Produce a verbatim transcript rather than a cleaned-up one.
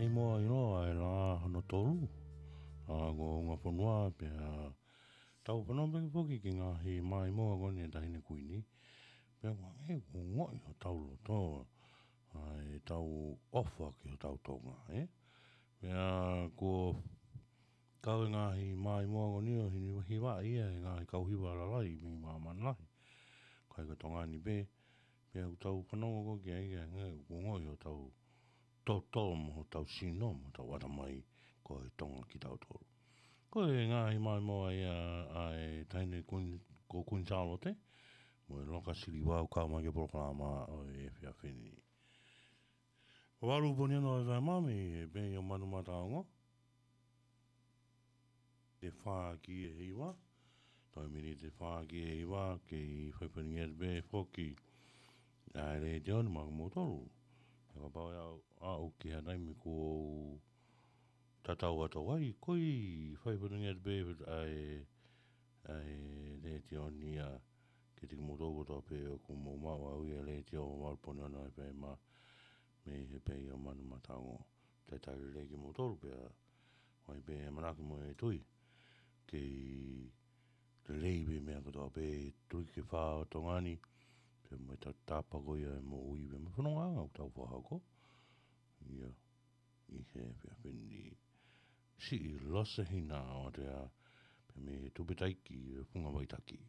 Maimoa ʻiloa ʻa e lā hono tolu ʻa e Kuonga Fonua, pea tau fanongo pē foki ki he ngaahi maimoa ko eni ʻa e Taʻahine Kuini. Pea ʻoku ʻi ai e ongoʻi ʻi hotau loto ʻa ʻetau ʻofa ki hotau Tonga, ē? Pea kuo kau e ngaahi maimoa ko eni ʻo hivaʻi ia ʻe he ngaahi kau hiva lalahi mei māmani lahi, ʻikai ko Tonga ni pē. Pea ʻoku tau fanongo ko ē ki ai, ʻoku ʻi ai e ongoʻi ʻi hotau toto mo hotau sino mo hotau ʻatamai, ko e Tonga kitautolu. Ko e ngaahi maimoa ia ʻa e Taʻahine Kuini, ko Kuini Sālote mo e Loka Siliva ʻoku kau mai ki he polokalama ʻo e efiafi ni. Valu pongipongi ʻo e F M, mei he pē ʻo Manumataongo. Te fā ki he hiva. Toe miniti ʻe fā ki he hiva, kei fai faingamālie pē foki ʻa e letiō ni maʻa kimoutolu. Pea kapau ʻe aʻu, aʻu ki ha taimi kuo tatau atu ai, ko e fai faingamālie pē ʻa e, ʻa e letiō ni ia kiate kimoutolu kotoa pē ʻoku mou maʻu ʻa e letiō, valu pongipongi ʻo e F M, mei he pē ʻo Manumataongo. Talitali lelei kimoutolu pea ʻoku ʻi ai pē ʻamanaki mo e tui kei lelei pē meʻa kotoa pē, tui ke fā ʻo Tonga ni, pea mo e tautapa ko ia ʻa e moʻui pea mo e fonongaʻanga ʻoku tau fakahoko. Ia, ʻi he efiafi ni, siʻi Lose Hina ʻo Atea, pea mei he Tupitaiki ʻo Funga Vaitaki.